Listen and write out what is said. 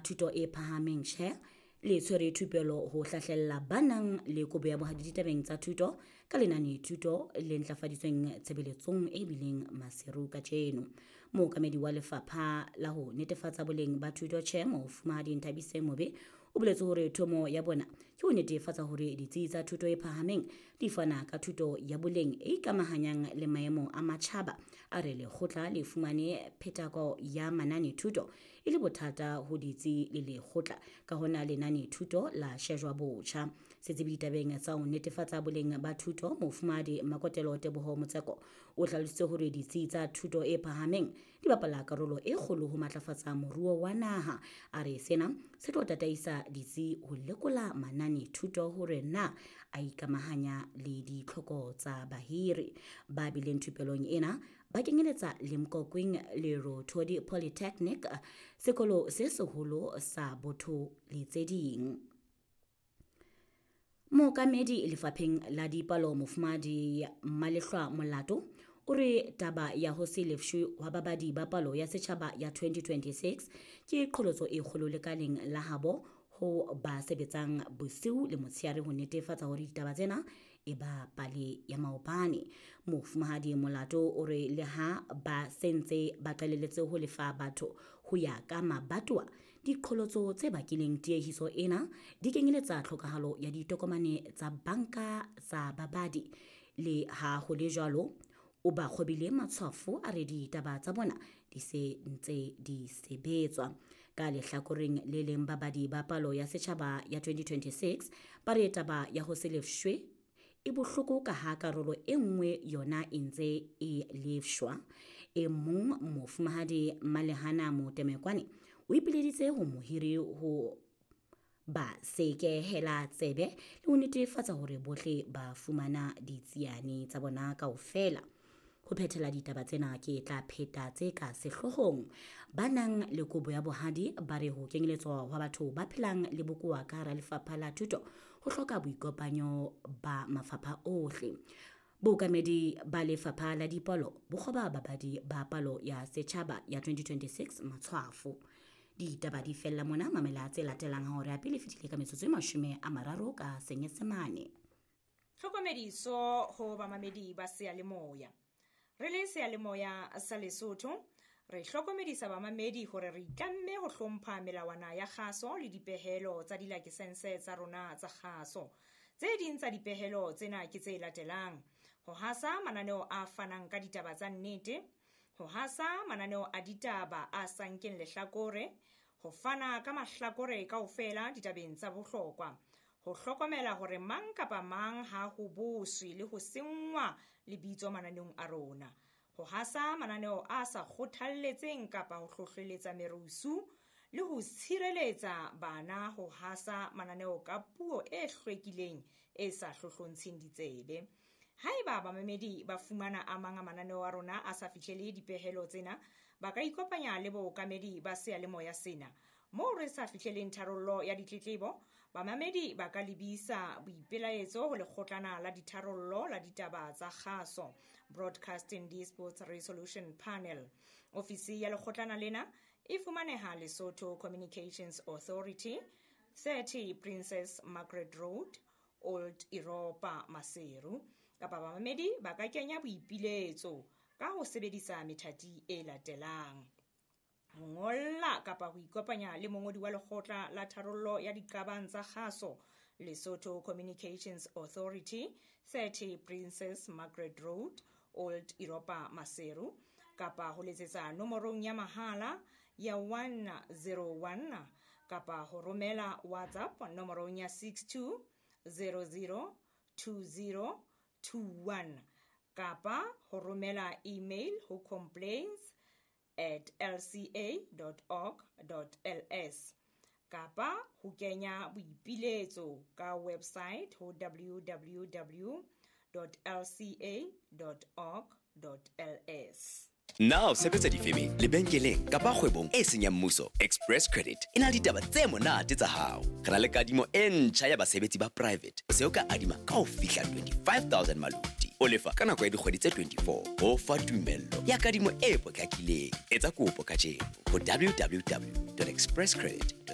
Thuto e Phahameng, CHEA, le tshwere thupelo ho hlahlella ba nang le kobo ya bohadi ditabeng tsa thuto ka lenane thuto le ntlafaditsweng tshebeletsong e bileng Maseru kajeno. Mookamedi wa lefapha la ho netefatsa boleng ba thuto CHEA, Mofumahadi Nthabiseng Mobe, o boletse hore thomo ya bona ke ho netefatsa hore ditsi tsa thuto e phahameng di fana ka thuto ya boleng e ikamahanyang le maemo a matjhaba. A re lekgotla le fumane phetako ya manane thuto e le bothata ho ditsi le lekgotla, ka hona lenane thuto la shejwa botjha. Setsebi ditabeng tsa ho netefatsa boleng ba thuto, Mofumahadi Makotelo Teboho Motseko, o hlalositse hore ditsi tsa thuto e phahameng di bapala karolo e kgolo ho matlafatsa moruo wa naha. A re sena se tlo tataisa ditsi ho lekola manane thuto hore na a ikamahanya le ditlhoko tsa bahiri. Ba bileng thupelong ena ba kenyeletsa Limkokwing Lerothodi Polytechnic, sekolo se seholo sa Botho le tse ding. Mookamedi lefapheng la dipalo, Mofumahadi Malehlwa Molato, o re taba ya ho se lefshwe hwa babadi ba palo ya setjhaba ya 2026 ke qholotso e kgolo lekaleng la habo ho ba sebetsang bosiu le motshehare ho netefatsa hore ditaba tsena e ba pale ya maobane. Mofumahadi Molato o re le ha ba sentse ba qalelletse ho lefa batho ho ya ka mabatowa, diqholotso tse bakileng tiehiso ena di kenyeletsa tlhokahalo ya ditokomane tsa banka tsa babadi. Le ha ho le jwalo, o ba kgobile matshwafo, a re ditaba tsa bona di se ntse di sebetswa. Ka lehlakoreng le leng, babadi ba palo ya setjhaba ya 2026 ba re taba ya ho se lefshwe e bohloko ka ha karolo e nngwe yona e ntse e lefshwa. E mong, Mofumahadi Malehana Motemekwane, o ipileditse ho mohiri ho ba sekehela tsebe le ho netefatsa hore bohle ba fumana ditsiane tsa bona kaofela. Ho phethela ditaba tsena, ke tla pheta tse ka sehloohong. Ba nang le kobo ya bohadi ba re ho kenyeletswa hwa batho ba phelang le bokowa ka hara lefapha la thuto ho hloka boikopanyo ba mafapha ohle. Bookamedi ba lefapha la dipalo bo kgoba babadi ba palo ya setjhaba ya 2026 matshwafo. Ditaba di fella mona. Mamela tse latelang ha hora ya pele fetile ka metsotso e 30 ka Senyesemane. Tlhokomediso ho bamamedi ba seyalemoya. Re le seyalemoya sa Lesotho, re hlokomedisa bamamedi hore re itlamme ho hlompha melawana ya kgaso le dipehelo tsa dilakesense tsa rona tsa kgaso. Tse ding tsa dipehelo tsena ke tse latelang: ho hasa mananeo a fanang ka ditaba tsa nnete, ho hasa mananeo a ditaba a sa nkeng lehlakore, ho fana ka mahlakore kaofela ditabeng tsa bohlokwa, ho hlokomela hore mang kapa mang ha ho boswe le ho senngwa lebitso mananeong a rona, ho hasa mananeo a sa kgothalletseng kapa ho hlohleletsa merusu, le ho tshireletsa bana ho hasa mananeo ka puo e hlwekileng e sa hlohlontsheng ditsebe. Haeba bamamedi ba fumana a mang a mananeo a rona a sa fihlele dipehelo tsena, ba ka ikopanya le bookamedi ba seyalemoya sena. Moo re sa fihleleng tharollo ya ditletlebo, bamamedi ba ka lebisa boipelaetso ho lekgotlana la ditharollo la ditaba tsa kgaso, Broadcasting Disputes Resolution Panel. Ofisi ya lekgotlana lena e fumaneha Lesotho Communications Authority, 30 Princess Margaret Road, Old Europa, Maseru. Kapa bamamedi ba ka kenya boipiletso ka ho sebedisa methati e latelang: ho ngolla kapa ho ikopanya le mongodi wa lekgotla la tharollo ya diqabang tsa kgaso, Lesotho Communications Authority, 30 Princess Margaret Road, Old Europa, Maseru, kapa ho letsetsa nomorong ya mahala ya 101, kapa ho romela WhatsApp nomorong ya 62 00 20 21, kapa ho romela email ho complaints@lca.org.ls, kapa ho kenya boipiletso ka website ho www.lca.org.ls. Na o sebetsa difemeng, lebenkeleng kapa kgwebong e seng ya mmuso? Express Credit e na le ditaba tse monate tsa hao. Re na le kadimo e ntjha ya basebetsi ba private. O se o ka adima ka ho fihla 25 000 maluti. O lefa ka nako ya dikgwedi tse 24. Ho fa tumello ya kadimo e potlakileng. Etsa kopo kajeno ho www.expresscredit.